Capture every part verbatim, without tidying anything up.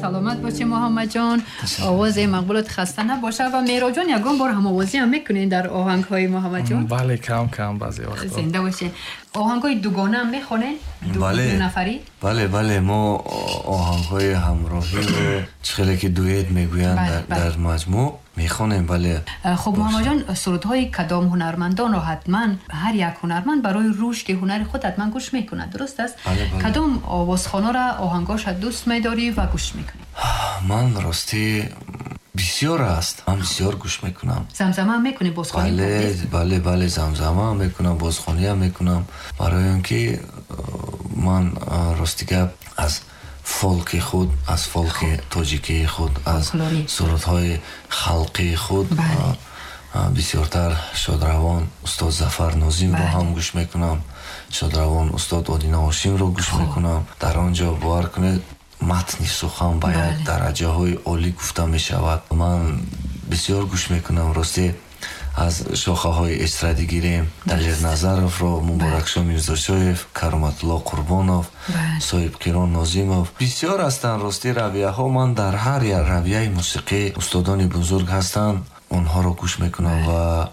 Саломат бошед, Муҳаммадҷон, овози мақбулат хаста набошад. Ва Меҳробҷон, ягон бор ҳамовозӣ ҳам мекунед дар оҳангҳои Муҳаммадҷон? Бале, кам кам, баъзе вақтҳо. Зинда бошед. Оҳангҳои дугона ҳам мехонед? Бале. Ду нафарӣ? Бале, бале, мо оҳангҳои ҳамроҳиро, чӣ хеле ки дуэт мегӯянд, дар маҷмӯъ мехонем, бале. Хуб, Муҳаммадҷон, сурудҳои кадом ҳунармандонро ҳатман ҳар як ҳунарманд барои рушди ҳунари худ ҳатман гӯш мекунад, дуруст аст? Бале, бале. Кадом овозхонаро оҳангҳоша дӯст медорӣ ва гӯш мекунӣ? Ман ростӣ бисёр аст, ман бисёр гӯш мекунам. Замзама ҳам мекунӣ, бозхонӣ? Бале, бале, бале, замзама ҳам мекунам, бозхонӣ ҳам мекунам. Барои он ки ман рости гап аз фолки худ, аз фолки тоҷикии худ, аз сурудҳои халқии худ бисёртар шодравон устод Зафар Нозимро ҳам гӯш мекунам, шодравон устод Одина Ҳошимро гӯш мекунам. Дар он ҷо, бовар кунед, матни сухан ба як дараҷаҳои олӣ гуфта мешавад. Ман бисёр гӯш мекунам. Ростӣ аз шохаҳои эстрадӣ гирем, Далер Назаровро, Муборакшо Мирзошоев, Кароматулло Қурбонов, Соҳибқирон Нозимов, бисёр ҳастанд. Ростӣ равияҳо, ман дар ҳар як равияи мусиқӣ устодони бузург ҳастанд, онҳоро гӯш мекунам ва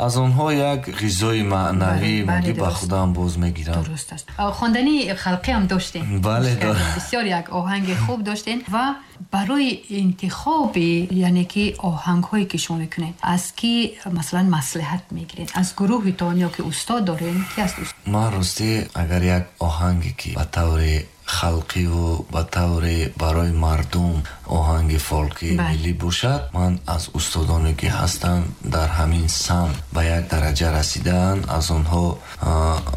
аз онҳо як ғизои маънавӣ моддӣ ба худам боз мегирам. Дуруст аст. Хондани халқӣ ҳам доштем. Бале, бисёр як оҳанги хуб доштем. Ва барои интихоби, яъне ки оҳангҳое ки шумо мекунед, аз ки масалан маслиҳат мегиред? Аз гурӯҳитон ё ки устод дорем? Ки аст устод? Ман ростӣ агар як оҳанге ки ба таври халқиву ба таври барои мардум оҳанги фолки миллӣ бошад, ман аз устодоне ки ҳастанд, дар ҳамин самт ба як дараҷа расидаанд, аз онҳо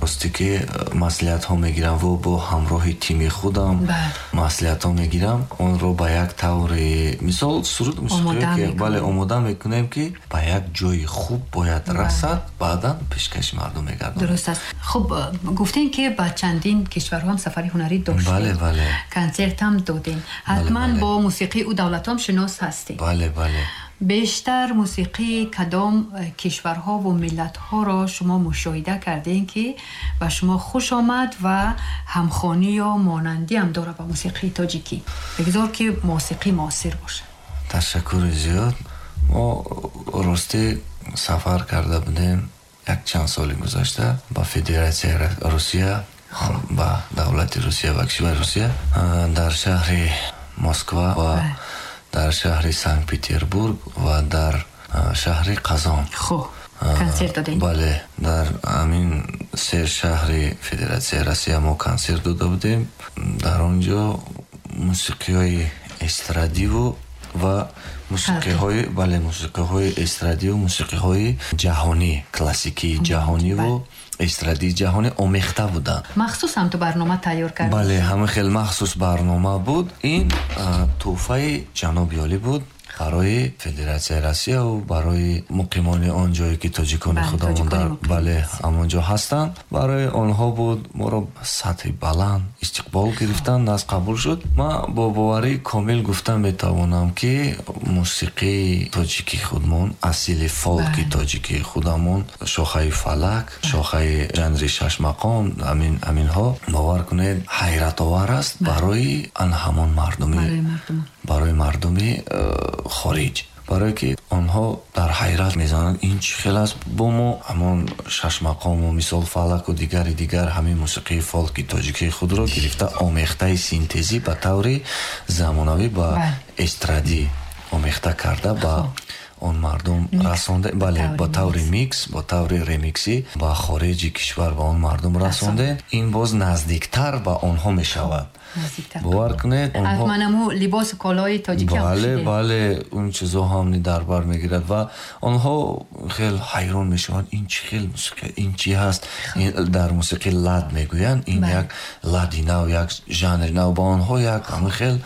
ростӣ ки маслиҳатҳо мегирам ва бо ҳамроҳи тими худам маслиҳатҳо мегирам. Онро ба як таври мисол суруд мусиқие ки бале омода мекунем, ки ба як ҷои хуб бояд расад, баъдан пешкаши мардум мегардонем. Дуруст аст. Хуб, гуфтем ки ба чандин кишварҳо ҳам сафари ҳунарӣ доштем. Бале, бале. Консерт ҳам додем. Ҳатман бо мусиқии ӯ давлатҳо ҳам шинос ҳастем. Бале, бале. Бештар мусиқии кадом кишварҳо ва миллатҳоро шумо мушоҳида кардем, ки ба шумо хуш омад ва ҳамхонӣ ё монандӣ ҳам дорад ба мусиқии тоҷикӣ? Бигзор ки мусиқии муосир бошад. Ташаккури зиёд. Мо ростӣ сафар карда будем як чанд соли гузашта ба Федератсияи Русия, ба давлати Русия, ба кишвари Русия, дар шаҳри Москва ва дар шаҳри Санкт Петербург ва дар шаҳри Қазон. Хуб, консерт додем. Бале, дар ҳамин се шаҳри Федератсияи Россия мо консерт дода будем. Дар он ҷо мусиқиҳои эстрадиву ва мусиқиҳои, бале, мусиқиҳои эстрадиву мусиқиҳои ҷаҳонӣ, классикии ҷаҳониву эстрадии ҷаҳонӣ омехта буданд. Махсус ҳам ту барнома тайёр кардӣ? Бале, ҳама хел махсус барнома буд. Ин тӯҳфаи ҷаноби олӣ буд барои Федератсияи Россия ва барои муқимони он ҷое ки тоҷикони худамон дар, бале, ҳамон ҷо ҳастанд, барои онҳо буд. Моро сатҳи баланд истиқбол гирифтанд, нас қабул шуд. Ман бо боварии комил гуфта метавонам, ки мусиқии тоҷикии худмон, асили фолки тоҷикии худамон, шохаи фалак, шохаи жанри шашмақом, ҳамин ҳаминҳо, бовар кунед, ҳайратовар аст барои ан ҳамон мардуми, барои мардуми хориҷ, барое ки онҳо дар ҳайрат мезананд, ин чӣ хел аст. Бо мо ҳамон шашмақому мисол фалаку дигари дигар ҳамин мусиқии фолки тоҷикии худро гирифта, омехтаи синтезӣ ба таври замонавӣ ба эстрадӣ омехта карда ба он мардум расонде. Бале, ба таври микс, ба таври ремиксӣ ба хориҷи кишвар ба он мардум расонде. Ин боз наздиктар ба онҳо мешавад. Бовар кунед, онҳо манаму либосу колои тоҷикӣ. Бале, бале, он чизо ҳам дар бар мегирад ва онҳо хел ҳайрон мешаванд, ин чӣ хел мусиқӣ, ин чӣ ҳаст? Дар мусиқӣ лад мегӯянд, ин як лади нав, як жанри нав, ба онҳо як ҳамин хел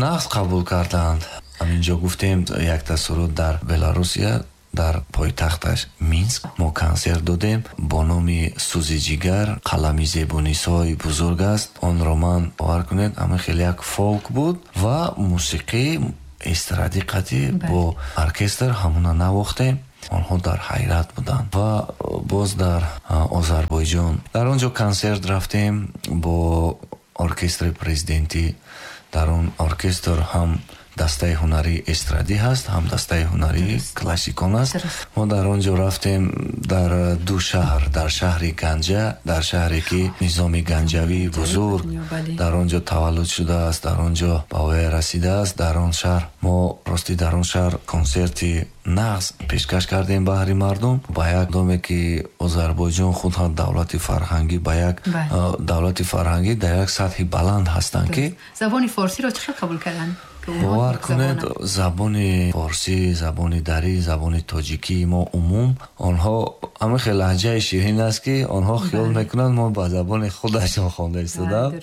нағз қабул карданд. Ҳаминҷо гуфтем, якта суруд дар Беларусия, дар пойтахташ Минск мо консерт додем бо номи «Сӯзи ҷигар», қалами зебунисои бузург аст. Онро ман, бовар кунед, ҳамин хеле як фолк буд ва мусиқии эстрадӣ қатъӣ бо оркестр ҳамона навохтем. Онҳо дар ҳайрат буданд. Ва боз дар Озарбойҷон, дар он ҷо консерт рафтем бо оркестри президентӣ. Дар он оркестр ҳам дастаи ҳунарии эстрадӣ ҳаст, ҳам дастаи ҳунарии классикон аст. Мо дар он ҷо рафтем дар ду шаҳр, дар шаҳри Ганҷа, дар шаҳре ки Низоми Ганҷавии бузург дар он ҷо таваллуд шудааст, дар он ҷо ба воя расидааст. Дар он шаҳр мо ростӣ дар он шаҳр консерти нағз пешкаш кардем баҳри мардум. Ба як доме ки Озарбойҷон худ ҳам давлати фарҳангӣ, ба як давлати фарҳангӣ дар як сатҳи баланд ҳастанд ки забони форсиро чӣ хел қабул карданд? Бовар кунед, забони форсӣ, забони дарӣ, забони тоҷикии мо умум онҳо ҳамин хел лаҳҷаи ширин аст ки онҳо хиёл мекунанд мо ба забони худашон хонда истодаем.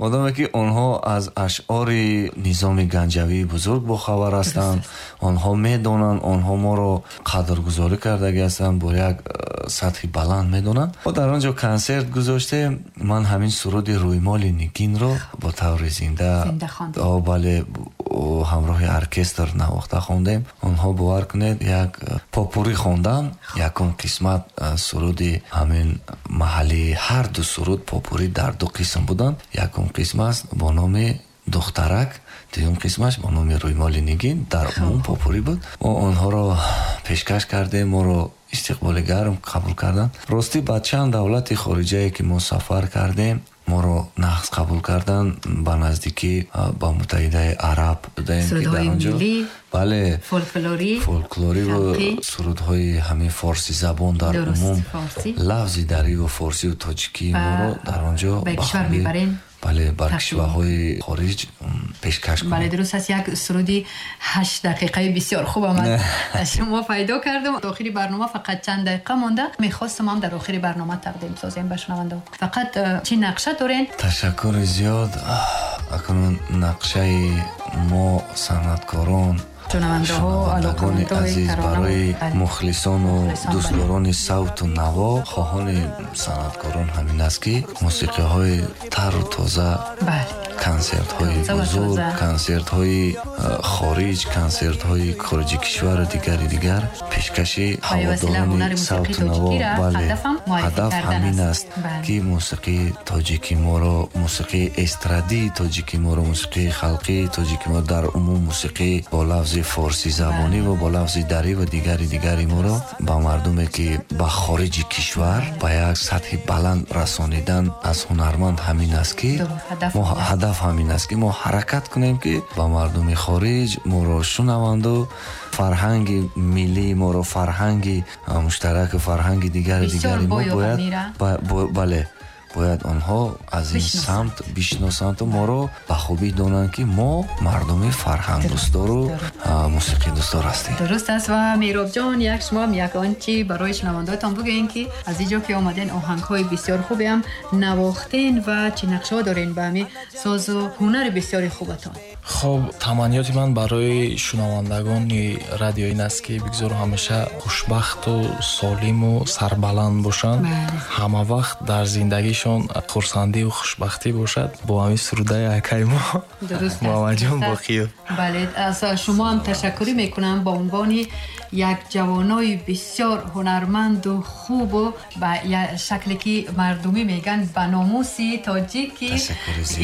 Модоме ки онҳо аз ашъори Низоми Ганҷавии бузург бохабар ҳастанд, онҳо медонанд, онҳо моро қадргузорӣ кардагӣ ҳастанд, бо як сатҳи баланд медонанд. Мо дар он ҷо консерт гузоштем. Ман ҳамин суруди Рӯймоли Нигинро бо таври зинда бале ҳамроҳи оркестр навохта хондем. Онҳо бовар кунед як попурӣ хондам, якум қисмат суруди ҳамин маҳаллии ҳар ду суруд попурӣ дар ду қисм буданд. Якум қисмаш бо номи Духтарак, дуюм қисмаш бо номи Рӯймоли Нигин, дар умум попурӣ буд. Мо онҳоро пешкаш кардем, моро истиқболи гарм қабул карданд. Ростӣ ба чанд давлати хориҷае ки мо сафар кардем, моро нағз қабул карданд. Ба наздикӣ ба Муттаҳидаи Араб будаем ки дар он ҷо бале фолклорӣ фолклорӣ ва сурудҳои ҳамин форсӣ забон дар умум лафзи дарӣ ва форсиву тоҷикии моро дар он ҷо ба кишвар мебарем. Бале, бар кишварҳои хориҷ пешкаш кунем. Бале, дуруст аст. Як суруди ҳашт дақиқаи бисёр хубам аз шумо пайдо кардам. Охири барнома фақат чанд дақиқа монда. Мехостам ҳам дар охири барнома тақдим созем ба шунавандаҳо. Фақат чӣ нақша дорен? Ташаккури зиёд. Акнун нақшаи мо санъаткорон, шунавандагони азиз, барои мухлисону дӯстдорони савту наво, хоҳони санъаткорон ҳамин аст ки мусиқиҳои тару тоза, консертҳои бузург, консертҳои хориҷ, консертҳои хориҷи кишвару дигари дигар пешкаши ҳаводорони савту наво. Бале, ҳадаф ҳамин аст ки мусиқии тоҷики моро, мусиқии эстрадии тоҷики моро, мусиқии халқии тоҷики моро, дар умум мусиқии бо лафзи форсӣ забонӣ ва бо лафзи дарӣ ва дигари дигари моро ба мардуме ки ба хориҷи кишвар ба як сатҳи баланд расонидан аз ҳунарманд ҳамин аст ки мо ҳадаф ҳамин аст ки мо ҳаракат кунем ки ба мардуми хориҷ моро шунаванду фарҳанги миллии моро, фарҳанги муштарак, фарҳанги дигари дигари мо бояд бале бояд онҳо аз ин самт бишносанд ва моро ба хубӣ донанд ки мо мардуми фарҳангдӯстдору мусиқидӯстдор ҳастем. Дуруст аст. Ва Меҳробҷон, як шумо ҳам ягон чи барои шунавандаҳоятон бигӯен ки аз ин ҷо ки омаден оҳангҳои бисёр хубеам навохтен ва чӣ нақшаҳо дорен ба ҳамин созу ҳунари бисёри хубатон? Хоб, таманниёти ман барои шунавандагони радио ин аст ки бигзор ҳамеша хушбахту солиму сарбаланд бошанд, ҳама вақт дар зиндагишон хурсандиву хушбахтӣ бошад. Бо ҳамин сурудаи акаи мо Муҳаммадҷон Боқиев. Бале, аз шумо ҳам ташаккурӣ мекунам ба унвони як ҷавонои бисёр ҳунарманду хубу ба шакле ки мардумӣ мегӯянд ба номуси тоҷик ки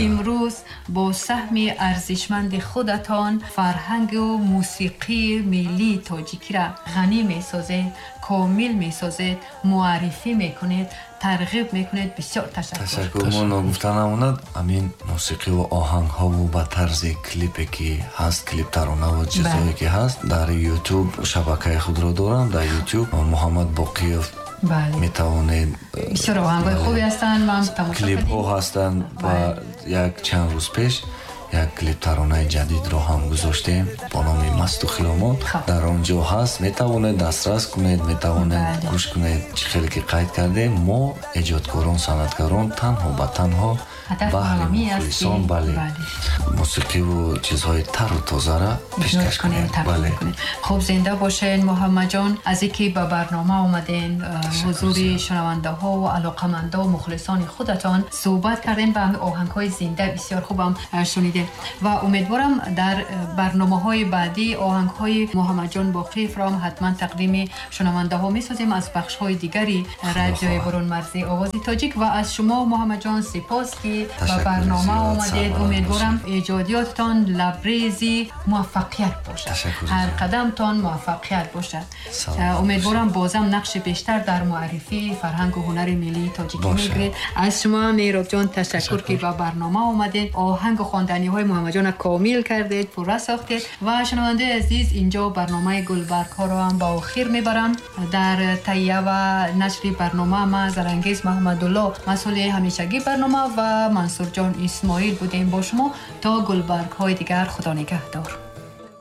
имрӯз бо саҳми арзишманди худатон фарҳангу мусиқии миллии тоҷикиро ғанӣ месозед, комил месозед, муаррифӣ мекунед, тарғиб мекунед. Бисёр ташаккур. Ташаккур. Мо ногуфта намонад ҳамин мусиқиву оҳангҳову ба тарзи клипе ки ҳаст, клип таронаву чизҳое ки ҳаст дар YouTube шабакаи худро дорам. Дар YouTube Муҳаммад Боқиев метавонед. Бисёр оҳангҳои хубе ҳастанд, ман тамошо кардем. Клипҳо ҳастанд ва як чанд рӯз пеш як клип таронаи ҷадидро ҳам гузоштем бо номи Масту хиромон. Дар он ҷо ҳаст, метавонед дастрас кунед, метавонед гӯш кунед. Чӣ хеле ки қайд кардем, мо эҷодкорон, санъаткорон танҳо ба танҳо баҳри мухлисон, бале, мусиқиву чизҳои тару тозаро пешкаш кунем. Бале. Хуб, зинда бошед Муҳаммадҷон, аз ин ки ба барнома омаден, ҳузури шунавандаҳо ва алоқамандо мухлисони худатон суҳбат кардем ва оҳангҳои зинда бисёр хубам шунидем ва умедворам дар барномаҳои баъдӣ оҳангҳои Муҳаммадҷон Боқиевро ҳам ҳатман тақдими шунавандаҳо месозем аз бахшҳои дигари радиои бурунмарзии Овози Тоҷик. Ва аз шумо Муҳаммадҷон сипос ки ба барнома омадед. Умедворам эҷод Эҷодиёттон лабрези муваффақият бошад, ҳар қадамтон муваффақият бошад. Умедворам бозам нақши бештар дар муаррифии фарҳангу ҳунари миллии тоҷикӣ мегиред. Аз шумо Меҳробҷон ташаккур, ки ба барнома омадед, оҳангу хонданиҳои Муҳаммадҷонро комил кардед, пурра сохтед. Ва шунавандаи азиз, инҷо барномаи гулбаргҳоро ҳам ба охир мебарам. Дар таҳия ва нашри барнома ман Зарангез Маҳмадулло, масъули ҳамешагии барнома, ва Мансурҷон Исмоил будем бо шумо. То гулбаргҳои дигар, Худо нигаҳдор.